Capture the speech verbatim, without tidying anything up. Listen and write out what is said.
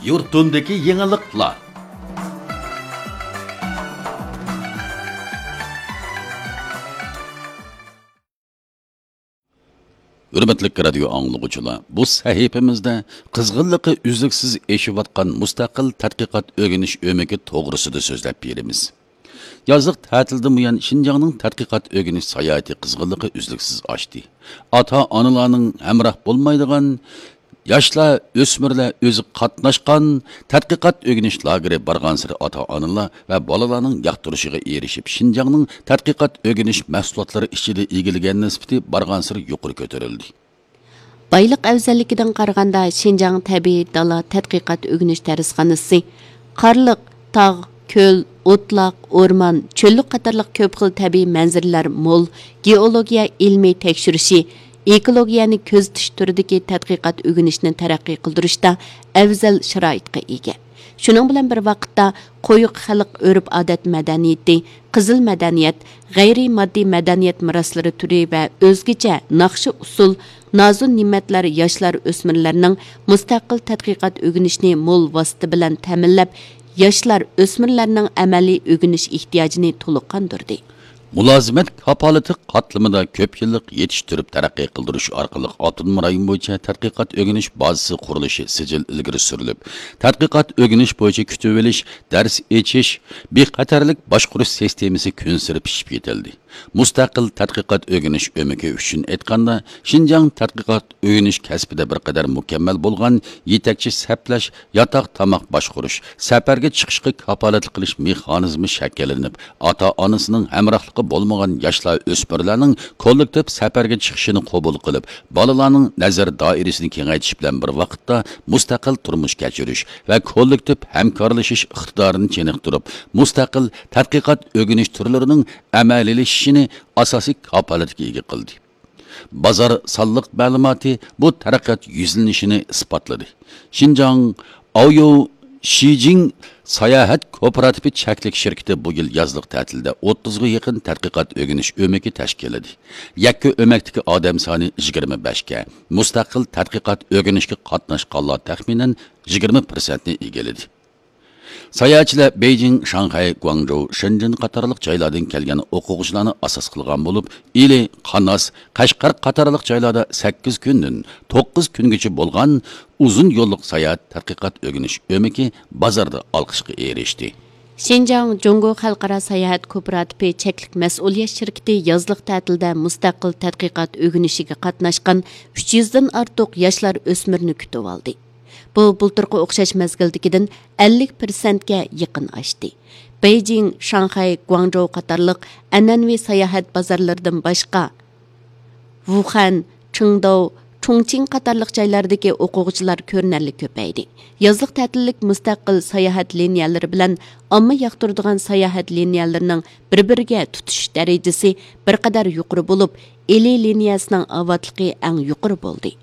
يۇرتۇمدىكى يېڭىلىقلار. ھۆرمەتلىك رادىيو ئاڭلىغۇچىلار، بۇ سەھىپىمىزدە قىزغىنلىقى ئۈزلۈكسىز ئېشىۋاتقان مۇستەقىل تەتقىقات ئۆگىنىش ئۆمىكى توغرىسىدا سۆزلەپ بېرىمىز. يازلىق تەتىلدىن بۇيان شىنجاڭنىڭ تەتقىقات ئۆگىنىش ساياھىتى قىزغىنلىقى ئۈزلۈكسىز ئاشتى. ئاتا-ئانىلارنىڭ ھەمراھ بولمايدىغان، ياشلار، ئۆسمۈرلەر ئۆزى قاتناشقان تەتقىقات ئۆگىنىش لاگېرى بارغانسېرى ئاتا-ئانىلار ۋە بالىلارنىڭ ياقتۇرۇشىغا ئېرىشىپ، شىنجاڭنىڭ تەتقىقات ئۆگىنىش مەھسۇلاتلىرى ئىچىدە ئىگىلىگەن نىسبىتى بارغانسېرى يۇقىرى كۆتۈرۈلدى. بايلىق ئەۋزەللىكىدىن قارىغاندا، شىنجاڭ تەبىئىي دالا تەتقىقات ئۆگىنىش دەرسخانىسى قارلىق، تاغ، كۆل، ئوتلاق، ئورمان، چۆللۈك قاتارلىق كۆپ خىل تەبىئىي مەنزىرىلەر مول، گېئولوگىيە ئىلمىي تەكشۈرۈشى، ئېكولوگىيەنى كۆزىتىش تۈرىدىكى تەتقىقات ئۆگىنىشنى تەرەققىي قىلدۇرۇشتا ئەۋزەل شارائىتقا ئىگە. شۇنىڭ بىلەن بىر ۋاقىتتا، قويۇق خەلق ئۆرپ-ئادەت مەدەنىيىتى، قىزىل مەدەنىيەت، غەيرىي ماددىي مەدەنىيەت مىراسلىرى تۈرى ۋە ئۆزگىچە ناخشا-ئۇسسۇل، نازۇ-نېمەتلەر ياشلار، ئۆسمۈرلەرنىڭ مۇستەقىل تەتقىقات ئۆگىنىشىنى مول ۋاسىتە بىلەن تەمىنلەپ، ياشلار، ئۆسمۈرلەرنىڭ ئەمەلىي ئۆگىنىش ئېھتىياجىنى تولۇق قاندۇردى. مۇلازىمەت كاپالىتى قاتلىمىدا كۆپ يىللىق يېتىشتۈرۈپ تەرەققىي قىلدۇرۇش ئارقىلىق ئاپتونوم رايون بويىچە تەتقىقات ئۆگىنىش بازىسى قۇرۇلۇشى سىجىل ئىلگىرى سۈرۈلۈپ، تەتقىقات ئۆگىنىش بويىچە كۈتۈۋېلىش، دەرس ئېچىش، بىخەتەرلىك باشقۇرۇش سىستېمىسى كۈنسېرى پىشىپ يېتىلدى. مۇستەقىل تەتقىقات ئۆگىنىش ئۆمىكى ئۈچۈن ئېيتقاندا، شىنجاڭ تەتقىقات ئۆگىنىش كەسپىدە بىر قەدەر مۇكەممەل بولغان يېتەكچى سەپلەش، ياتاق تاماق باشقۇرۇش، سەپەرگە چىقىشقا كاپالەتلىك قىلىش مېخانىزمى شەكىللىنىپ، ئاتا-ئانىسىنىڭ ھەمراھلىقى بولمىغان ياشلار، ئۆسمۈرلەرنىڭ كوللېكتىپ سەپەرگە چىقىشىنى قوبۇل قىلىپ، بالىلارنىڭ نەزەر دائىرىسىنى كېڭەيتىش بىلەن بىر ۋاقىتتا، مۇستەقىل تۇرمۇش كەچۈرۈش ۋە كوللېكتىپ ھەمكارلىشىش ئىقتىدارىنى چېنىقتۇرۇپ، مۇستەقىل تەتقىقات ئۆگىنىش تۈرلىرىنىڭ ئەمەلىيلىشىشىنى ئاساسىي كاپالەتكە ئىگە قىلدى. بازار سانلىق مەلۇماتى بۇ تەرەققىيات يۈزلىنىشىنى ئىسپاتلىدى. شىنجاڭ ئاۋيو شىجىڭ ساياھەت كوپىراتىپى چەكلىك شىركىتى بۇ يىل يازلىق تەتىلدە ئوتتۇزغا يېقىن تەتقىقات ئۆگىنىش ئۆمىكى تەشكىللىدى. يەككە ئۆمەكتىكى ئادەم سانى يىگىرمە بەشكە، مۇستەقىل تەتقىقات ئۆگىنىشكە قاتناشقانلار تەخمىنەن يىگىرمە پىرسەنتنى ئىگىلىدى. ساياھەتچىلەر بېيجىڭ، شاڭخەي، گۇاڭجۇ، شېنجېن قاتارلىق جايلاردىن كەلگەن ئوقۇغۇچىلارنى ئاساس قىلغان بولۇپ، ئىلى، قاناس، قەشقەر قاتارلىق جايلاردا سەككىز كۈندىن توققۇز كۈنگىچە بولغان ئۇزۇن يوللۇق ساياھەت تەتقىقات ئۆگىنىش ئۆمىكى بازاردا ئالقىشقا ئېرىشتى. شىنجاڭ جۇڭگو خەلقئارا ساياھەت كوپىراتىپى چەكلىك مەسئۇلىيەت شىركىتى يازلىق تەتىلدە مۇستەقىل تەتقىقات ئۆگىنىشىگە قاتناشقان ئۈچ يۈزدىن ئارتۇق ياشلار، ئۆسمۈرنى كۈتۈۋالدى. بۇ بۇلتۇرقى ئوخشاش مەزگىلدىكىدىن ئەللىك پىرسەنتكە يېقىن ئاشتى. بېيجىڭ، شاڭخەي، گۇاڭجۇ قاتارلىق ئەنئەنىۋى ساياھەت بازارلىرىدىن باشقا، ۋۇخەن، چىڭداۋ، چۇڭچىڭ قاتارلىق جايلاردىكى ئوقۇغۇچىلار كۆرۈنەرلىك كۆپەيدى. يازلىق تەتىللىك مۇستەقىل ساياھەت لىنىيەلىرى بىلەن ئامما ياقتۇرىدىغان ساياھەت لىنىيەلىرىنىڭ بىر-بىرىگە تۇتىشىش دەرىجىسى بىر قەدەر يۇقىرى بولۇپ، ئىلى لىنىيەسىنىڭ ئاۋاتلىقى ئەڭ يۇقىرى بولدى.